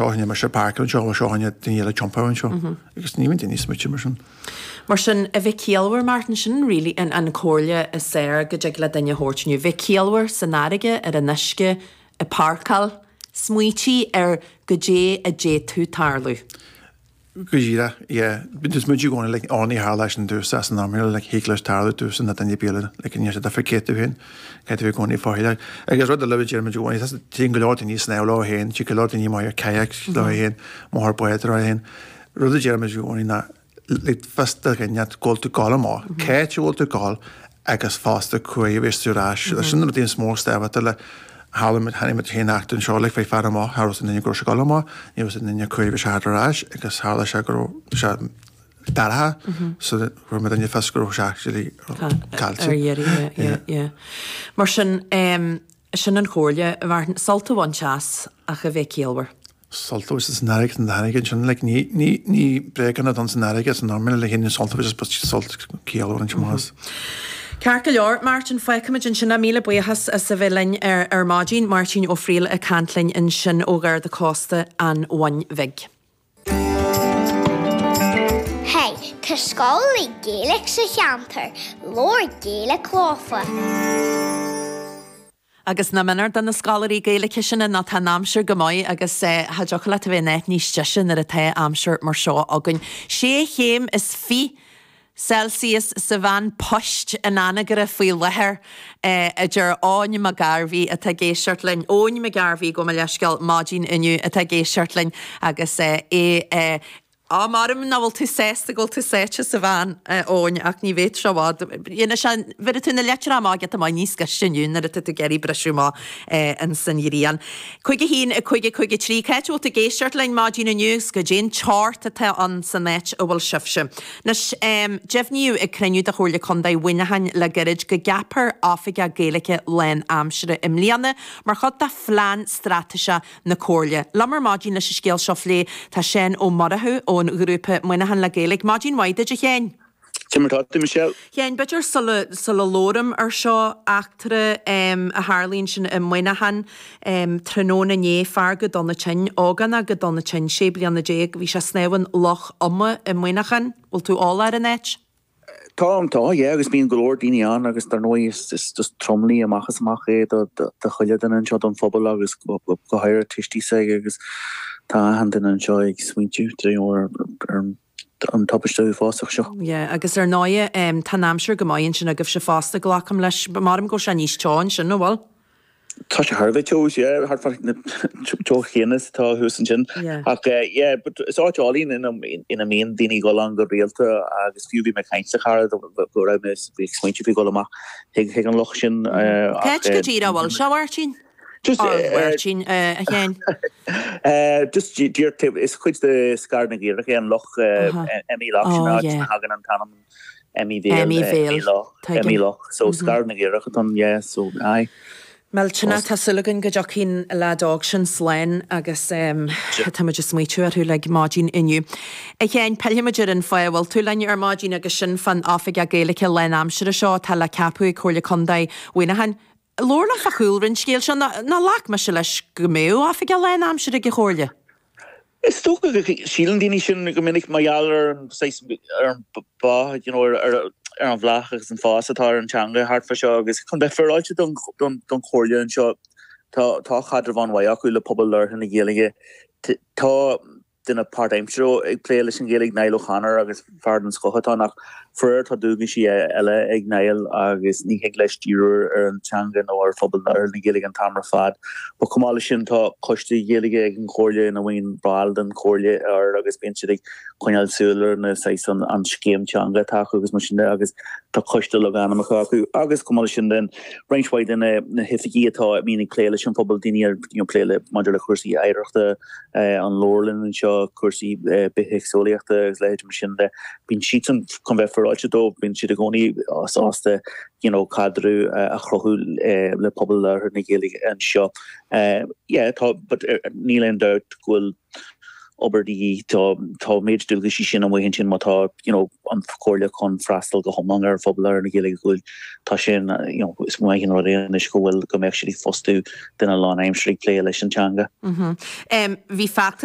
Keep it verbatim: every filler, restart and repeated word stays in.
seo mise ag páirceáil anseo, bhfuil seo duine eile tiompar anseo. Agus ní bhíonn daoine ag smaoitiú mar sin. Mar sin, a bheith ciallmhar, Martin, sin really an, an chomhairle is fearr go dtig le duine a thabhairt inniu. Bheith ciallmhar san fharraige, ar an uisce, ag páirceáil, smaoitigh ar goidé a d'fhéadfadh tarlú. Go díreach, yeah. Bíonn tú ag smaointiú i gcónaí, like, ó ní tharla sin domhsa as an am, like, thig leis tarlú domhsa nó duine ar bith eile, like, níl sé difear cé tú féin, caithfidh tú bheith i gcónaí faichilleach. Agus rud eile a deir muid i gcónaí, téann go leor daoine ag snámh leo féin, téann go leor daoine amuigh ar kayak leo féin, amuigh ar bád leo féin. Rud a deir muid i gcónaí ná, like, fios do dhuine go bhfuil tú ag gabháil amach, cá háit a bhfuil tú ag gabháil agus fosta cá huair a bheas tú ar ais. Sin na rudaí is mó is tábhachtaí le tharla muid, tháinig muid féin eachtra anseo, like, bhí fear amach, cha raibh a fhios ag aon duine go raibh sé ag gabháil amach, ní raibh a fhios ag aon duine cá huair a bhí sé thart ar ais agus tharla sé go raibh sé dorcha so fuair muid duine fios go raibh sé actually caillte. Ar iarraidh, yeah, yeah, yeah. Mar sin, um, sin an chomhairle, Martin, sult a bhaint as ach a bheith ciallmhar. Sult a bhaint as an fharraige an fharraige ansin, like, ní, ní, ní bréaganna don san fharraige san normal le híonn sult a bhaint as but sult ciallmhar an más. Ceart go leor, Martin, fágfaimid ansin é. Míle buíochas as a bheith linn ar, ar maidin. Máirtín Ó Frighil ag caint linn ansin ó Gharda Cósta an Bhun Bhig. Hey, tá scoil Gaeilge sa cheantar, labhair Gaeilge leofa. Agus nach méanar do na scoláirí Gaeilge sin ná tá an aimsir go maith agus cha dtiocfadh leat a bheith in áit níos deise nuair atá aimsir mar seo againn. Sé chéim is fiche Celsius sa veain poist in Anagaire faoi láthair, a deir Eoin Mac Gairbhí atá ag éisteacht linn. Eoin Mac Gairbhí, gabh mo leithscéal, maidin inniu atá ag éisteacht linn agus é Á, maram nach bhfuil tú sásta go bhfuil tú sáite sa veain, a Eoin, ach ní bheidh sé i bhfad. Dhéanfaidh sé, bheirfidh tú na leitreacha amach giota maith níos gaiste inniu nuair atá tú ag iarraidh briseadh amach ins an ghrian. Cúig a haon, a cúig, a cúig a trí, cá háit a bhfuil tú ag éisteacht linn maidin inniu agus goidé an teocht atá ann san áit a bhfuil sibhse. Anois, deimhníodh ag cruinniú de Chomhairle Contae Mhuineacháin le gairid go gceapfar Oifigeach Gaeilge lán-aimsire i mbliana mar chuid de phlean straitéiseach na Comhairle. Liom ar maidin leis an scéal seo a phlé tá Seán Ó Murchú ón ghrúpa Muineachán le Gaeilge. Maidin mhaith duit, a Sheáin. Cé mar atá tú, Michelle? Sheáin, b'fhéidir sula, sula labhraim ar seo, eachtra a tharla ansin i Muineachán tráthnóna inné, fear go dona tinn, ógánach go dona tinn, sé bliana déag, bhí sé ag snámh in Loch Ioma i Muineachán. Bhfuil tú eolach ar an áit? Tá, tá, yeah, agus bíonn go leor daoine ann agus dar ndóigh is is just tromluí amach is amach é do do do chuile duine anseo don phobal agus go go háirithe tuistí s'aige agus tá achan duine anseo ag smaointiú you know ar ar an tubaiste uafásach seo. Yeah, agus ar ndóigh tá an aimsir go maith ansin agaibhse fosta, glacaim leis. Maram go bhfuil sé níos teo ansin, nó bhfuil? Tá sé thar a bheith teo, yeah, thart fá na teocht chéanna is atá thuas ansin. Yeah. Ach yeah, but is áit álainn ina ina mbíonn daoine ag dul ann go rialta agus fiú bhí mé ag caint le cara go raibh mé ag smaointiú faoi dhul amach chuig chuig an loch sin Cá háit go díreach a bhfuil sé, a Mháirtín? Just Or a Mháirtín, a Sheáin? Just díreach is cuid de Scaradh na gCaorach é an loch Emmy Lough sin Oh áit yeah. a thagann an t-ainm Emmy Bhéal, Emmy Emmy Bhéal, Loch, Emmy tuigim. Loch. So Scaradh na gCaorach atá ann, yeah, so aye. Millteanach, tá súil againn go dtiocfaidh an leaid óg sin slán agus tá muid ag smaoitiú orthu uilig maidin inniu. A Sheáin, pillfimid ar an fáth a bhfuil tú linn ar maidin agus sin fán Oifigeach Gaeilge lán-aimsire seo atá le ceapadh ag Comhairle Contae Mhuineacháin. Labhair liom fá chúlra an scéil seo, nó ghlac mise leis go mbeadh Oifigeach lán-aimsire ag an Chomhairle? Is dócha go síleann daoine sin go minic mar gheall ar an saghas, ar an bá, you know, ar ar an bhláth agus an fás atá ar an teanga thart fá seo agus chun bheith féaráilte don don don chomhairle anseo tá tá caidreamh an-mhaith acu le pobal labhartha na Gaeilge. Tá duine páirtaimseartha ag plé leis an Ghaeilge, Niall O'Connor agus fear den scoth atá ann ach faraor tá dualgaisí eile ag Niall agus ní thig leis díriú ar an teanga nó ar phobal labhartha na Gaeilge an t-am ar fad. But chomh maith leis sin tá coiste Gaeilge ag an Chomhairle ina mbíonn baill den Chomhairle air agus bíonn siad ag coinneáil súil ar na saghas an an scéim teanga atá acu agus mar sin de agus tá coiste logainmneacha acu agus chomh maith leis sin den roinnt mhaith de na na hoifigí atá a mbíonn ag plé leis an phobal daoine ar you know plé le maidir le cúrsaí oidhreachta an leabharlann anseo, cúrsaí bithéagsúlachta agus leithéid mar sin de. Bíonn siadsan, chun bheith féaráilte dóibh, bíonn siad i gcónaí sásta you know caidreamh a chruthú le pobal labhartha na Gaeilge anseo. Yeah, tá, but níl aon dabht go bhfuil obair de dhíth. Tá tá an méid dualgaisí sin amuigh ansin má tá you know an Chomhairle chun freastal go hiomlán ar phobal labhartha na Gaeilge go bhfuil tá sin you know is maith an rud é anois go bhfuil go mbeadh siad ag fostú duine lánaimseartha ag plé leis an teanga. Bhí feachtas